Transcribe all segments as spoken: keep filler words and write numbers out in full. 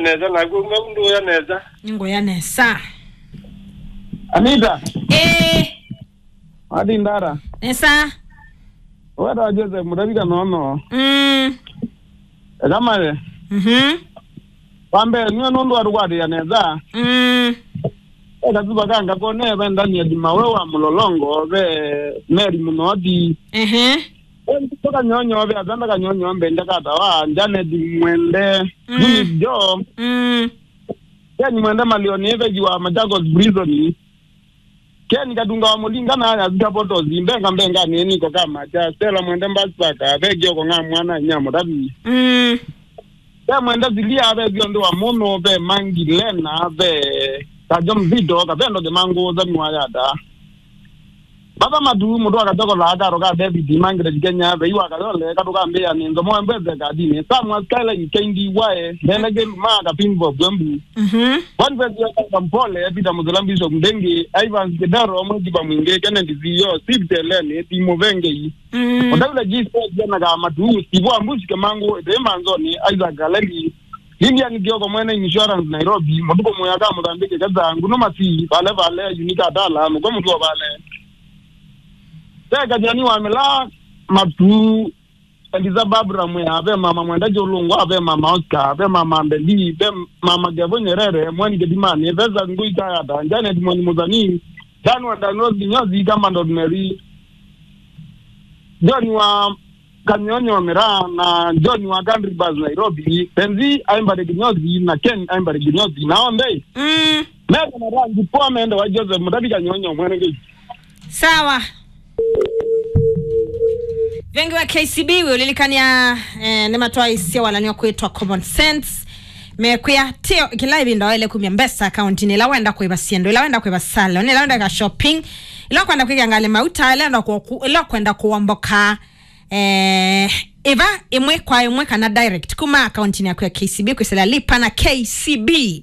Nesa, naku mau ndũya nesa. Nĩngũya nesa. Anita. Ĩĩ. Ati ndara. Nesa. Weta Joseph Mutavika nono. Mm. Eka male. Mhm. Wa mbee, nĩwe nũndũ wa tũkwatĩĩa nesa. Mm. Eka tuva ka ngakone ve Daniel Mawe wa Mũlolongo, ve Mary Mũnoti. Ehe. Ve Kanyonyo, ve Atanda Kanyonyo, Mbende Katawa, Janet Mwende, mm, Eunice Joe. Mm. Ken Mwende Malioni, Eveji wa Machakos Prison. Ken Katunga wa Mulinga na ya Zika Botos, Mbenga Mbenga ni niko kama cha Stella Mwende Mbasaka, ve Kioko nga mwana nya Mutavi. Mm. Ve Mwende Zilia, ve Ziondo wa Mono, ve Mangi Lena, ve Kajo Mzito, Kavendo Kimangu, Zami wa Yata. Baba Matu, mũndũ wa Katoko la Karo ka David, Margaret Kenya, vei wa Kayole, Katuka Mbea, ni Nzomo Mbeze Kadini, Samuel Skyline, K D Y, Nene Kelu, Ma, Kapimbo, Bwembu. Mhm. Boniface Kampole, Peter Muzela, Bishop Ndengi, Ivan Kidero, Mwekipa Mwingi, Kennedy Ziyo, Steve Teleni, Timo Vengei. Mm. Odaula G Sport, Jana Kamatu, Steve Ambusi Kemangu, Ete Manzoni, Isaac Kaleli, Lilian Kioko, Mwene Insurance Nairobi, Matuko Moya ka Mozambique, Keza, Nguno Masi, Vale Vale, Unika Dala, Muko Mutuo Vale. Teka Jani wa Mila, Matu, Eliza Barbara Mwea, ve mama Mwenda Jolungwa, ve mama Oscar, ve mama Mbeli, ve mama Kevo Nyerere, Mwani Kedimani, Vesa Ngui Kayata, Janet Mwani Muzani, Dan wa Danos Kinyozi, Kama Dot Mary, John wa Kanyonyo Mera, na John wa Country Bus Nairobi, Penzi Aimbare Kinyozi, na Ken Aimbare Kinyozi, na onthe. Mm. Meko na rangi poa mende wa Joseph Mutabi Kanyonyo mwene ngi. Sawa. Vengi wa K C B, wĩũlilikania, eh, nĩmatwaisye walany'o kwĩtwa Common Sense. Mekwĩa tio kĩla ĩvinda waĩle kumya mbesa akauntinĩ ĩla wenda kũĩva syĩndũ, ĩla wenda kũĩva salon, ĩla wenda ka shopping, ĩla kwenda kwĩkĩa ngalĩ mauta, ĩla wenda kũku-, ĩla kwenda kũomboka. Eh, ĩva ĩmwe kwa ĩmwe kana direct kuma akauntinĩ yaku ya K C B kwĩsĩla Lipa na K C B.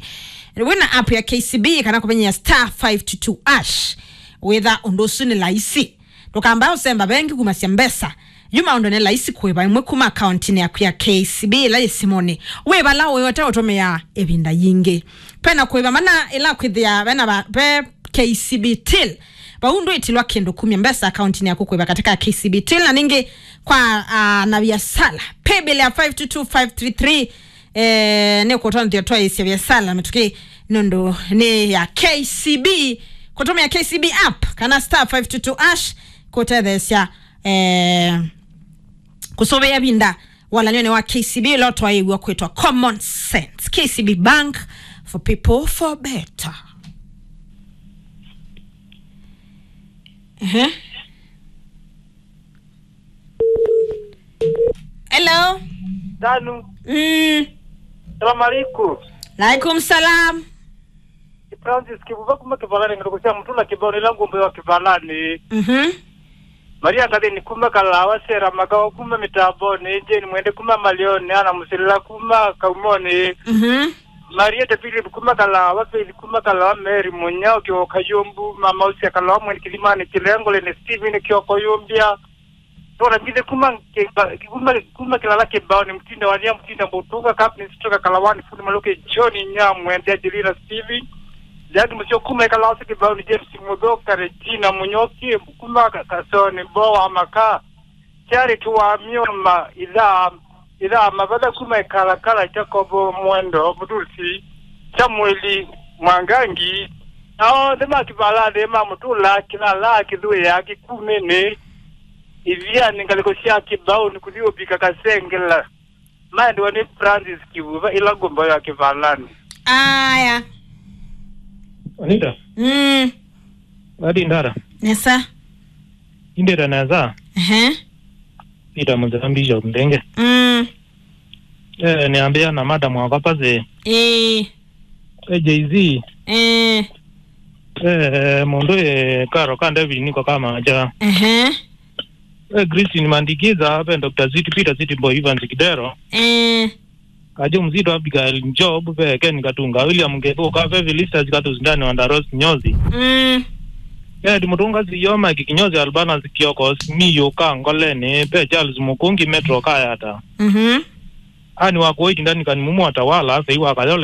Wĩna app ya K C B kana kũvinyĩa star five two two hash. Wĩtha ũndũ ũsu nĩ laisi. Ndũkamba ũsemba vengi kumasya mbesa. Yu maũndũ nĩ laisi kũĩva ĩmwe kuma akauntinĩ yaku ya K C B ĩla yĩ simũnĩ. Wĩ vala ũyote ũtũmĩa ĩvinda yingĩ. Pena kũĩva mana ĩla kwĩthĩa vena va-, ve K C B Till. Vau ndwĩtilwa kĩndũ kumya mbesa akauntinĩ yaku kũĩva katika K C B Till. Na ningĩ kwa, ah, na viasala. Paybill ya five two two five three three. Eh, nĩ kũtonthia twaĩsya viasala mĩtũkĩ nũndũ nĩ ya K C B. Kũtũmĩa K C B app kana star five two two hash kũtetheesya, eh, kũsũvĩa vinda walany'onĩ wa K C B ĩla ũtwaĩĩw'a kwĩtwa Common Sense. K C B Bank for people for better. Ehe. Hello. Danu. Mm. Salam alaikum. Alaikum salam. Francis Kivuva kuma Kivalani, ngalĩko sya Mũtũla Kĩvaũnĩ, ĩla ngũmbo ya Kivalani. Mhm. Maria Ngathĩni kuma Kalawa, Sera Makawa kuma Mĩtambonĩ, Jane Mwende kuma Malioni, Ana Mũsilĩla kuma Kaumoni. Mhm. Marieta Philip kuma Kalawa, Faith kuma Kalawa, Mary Munyao, Kioko Kayumbu, Mama Usia Kalawa, Mweni Kilimani, Kilengole, ni Steven Kioko Yumbia. Tora mbithe kuma kiba-, kuma, kuma Kilala Kĩvaũnĩ, Mtinda wa Lia, Mtinda Mũtunga, Captain Stroka Kalawani, Fundi Maluke, John Nyamwende, Angelina Steven. Jadi Musio kuma Kalawa Kĩvaũnĩ, James Muthoka, Regina Munyoki, kuma Ka-, Kasoni, Bo wa Maka. Charity wa Mioma, Ithaa, Ithaa Mavatha kuma Ikalakala, Jacob Mwendo, Mutusi, Samueli Mwangangi, na onthe ma Kĩvalathĩ ma Mũtũla, Kĩlala, Kĩthũĩa, Kĩkumĩnĩ, Ithianĩ, ngalĩko sya Kĩvaũnĩ, kũthi ũvika Kasengela. Maendewa nĩ Francis Kivuva, ĩla ngũmbo ya Kĩvalanĩ. Aya. Anita? Mm. Ati ndara? Nesa. Indĩte nesa? Ehe. Peter Mũnzĩla Bishop Ndenge. Mm. Eh, nĩambĩa na madam wakwa Pasi. Ĩĩ. Eh, Jay-Z. Eh. Eh, mũndũ, eh, Karo ka David niko kama aja. Ehe. Eh, Christine Mandikiza, ve Doctor Ziti, Peter Ziti Boy, Evans Kidero. Eh. Kajo Mzito, Abigail Job, ve Ken Katunga, William Ngethuka, ve Felicitas Katus, Ndani wa Ndaros Nyozi. Mm. Ed Mutunga, Ziyoma Kikinyozi, Albanas Kioko, Simiyu ka Ngoleni, ve Charles Mukungi, Metro Kayata. Mhm. Ani wa kũũ ĩtindanĩ kani mumo atawala, sei wa Kayola,